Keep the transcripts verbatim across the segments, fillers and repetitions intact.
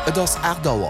Et ass aacht Auer.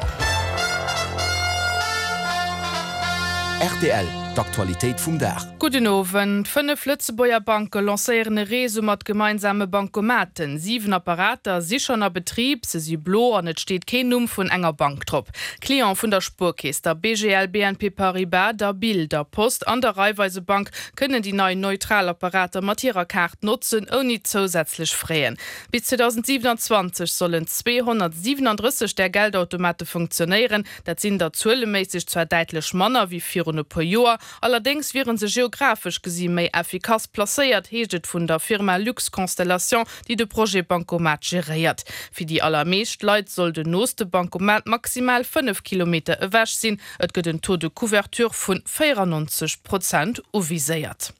Rtl, D'Aktualitéit vum Dag. Gudden Owend. Fënnef Lëtzebuerger Banke lancéieren e Réseau mat gemeinsame Bankomaten. Siwen Apparater si schonn a Betrib, se si blo an et steet keen Numm vun enger Bank drop. Clientë vun der Spuerkeess, der B G L B N P Paribas, der B I L, der Post an der Raiffeisebank kënnen déi nei neutral Apparater mat hirer Kaart notzen, ouni zousätzlech Fräen. Bis zweedausendsiwenanzwanzeg sollen zweehonnertsiwenandrësseg där Geldautomate funktionéieren. Dat sinn der zueleméisseg zwar däitlech manner wéi virun e puer Joer, allerdéngs wiere se geografesch gesi méi effikass placéiert, heescht et vun der Firma Lux Constellation, déi de Projet Bankomat geréiert. Fir déi allermeescht Leit soll den nooste Bankomat maximal fënnef Kilometer ewech sinn. Et gëtt en Taux de couverture vun véierannonzeg Prozent uviséiert.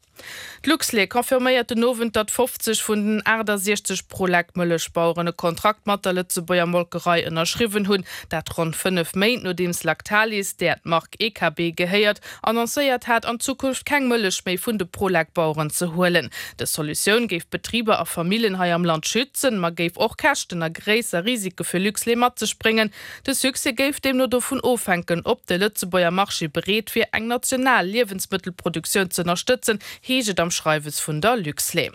D'Luxlait confirméiert den Owend, datt fofzeg vun den aachtasechzeg Prolec-Mëllechbaueren e Kontrakt mat der Lëtzebuerger Molkerei ënnerschriwwen hunn. Dat ronn fënnef Méint nodeems Lactalis, där d'Mark E K B gehéiert, annoncéiert hat, an Zukunft keng Mëllech méi vun de Prolec-Baueren ze huelen. Dës Solutioun géif Betriber a Famillen hei am Land schützen, ma géif och Käschten a gréisser Risike fir Luxlait mat sech bréngen. De Succès géif deemno dovun ofhänken, ob de Lëtzebuerger Marché bereet wier, eng national Liewensmëttelproduktioun ze ënnerstëtzen, heescht et am Schreiwes vun der Luxlait.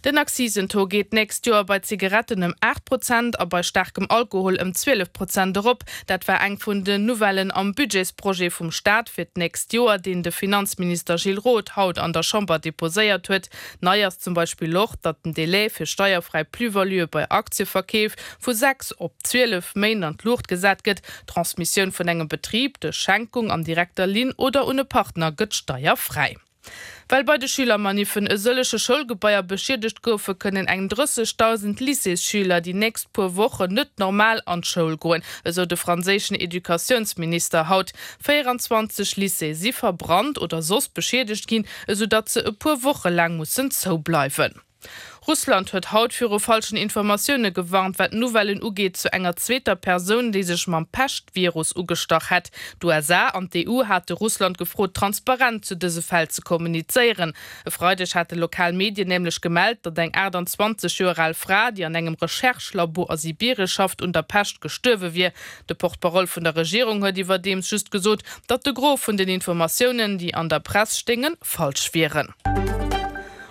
Den Akzisentaux geet d'nächst Joer bei Zigaretten ëm aacht Prozent a bei staarkem Alkohol ëm zwielef Prozent erop. Dat war eng vun den Nouvellen am Budgetsprojet vum Staat fir d'nächst Joer, deen de Finanzminister Gilles Roth haut an der Chamber deposéiert huet. Nei ass zum Beispill och, datt den Delai fir steierfräi Plus-valuë bei Aktieverkeef vu sechs op zwielef Méint an d'Luucht gesat gëtt. D'Transmissioun vun engem Betrib duerch Schenkung an direkter Linn oder un e Partner gëtt steierfräi. Well bei de Schülermaniffen e sëllege Schoulgebaier beschiedegt goufen, kënnen eng drëssegdausend Lycéesschüler déi nächst puer Wochen net normal an d'Schoul goen, esou de franséischen Educatiounsminister haut. véieranzwanzeg Lycéeë si verbrannt oder soss beschiedegt ginn, esou datt se e puer Woche laang mussen zoubleiwen. Russland huet haut viru falschen Informatioune gewarnt, wat Nouvellen ugeet zu enger zweeter Persoun, déi sech mam Pescht-Virus ugestach hätt. D'U S A an d'E U hate Russland gefrot, transparent zu dëse Fäll ze kommunizéieren. E Freideg hate lokal Medien nämlech gemellt, datt eng aachtanzwanzeg Joer al Fra, déi an engem Recherche-Labo a Sibirie schafft, un der Pescht gestuerwe wier. De Porte-parole vun der Regierung huet iwwerdeems just gesot, datt de Gros vun den Informatiounen, déi an der Press stéingen, falsch wieren.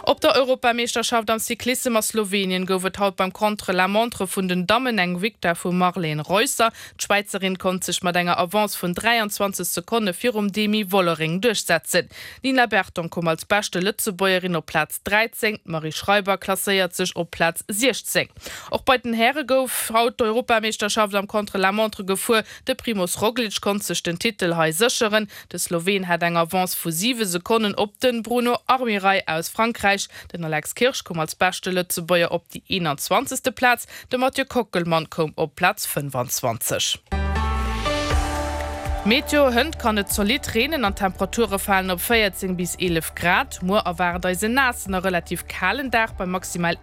Op der Europameeschterschaft am Cyclissem a Slowenien gouf et haut beim Contre-la-montre vun den Dammen eng Victoire vum Marlene Reusser. D'Schwäizerin konnt sech mat enger Avance vun dräianzwanzeg Sekonne virum Demi Vollering duerchsetzen. D'Nina Berton koum als beschte Lëtzebuergerin op Plaz dräizéng, d'Marie Schreiber klasséiert sech op Plaz siechzéng. Och bei den Häre gouf haut d'Europameeschterschaft am Contre-la-montre gefuer. De Primoz Roglic konnt sech den Titel hei sécheren. De Sloween hat eng Avance vu siwe Sekonnen op de Bruno Armirail aus Frankräich. Den Alex Kirsch koum als beschte Lëtzebuerger op déi eenanzwanzegste Plaz, de Mathieu Kockelmann koum op Plaz fënnefanzwanzeg. Meteo, Hënt kann et zolidd reenen an d'Temperature falen op véierzéng bis eelef Grad. Muer erwaart eis en naassen a relativ kalen Dag bei maximal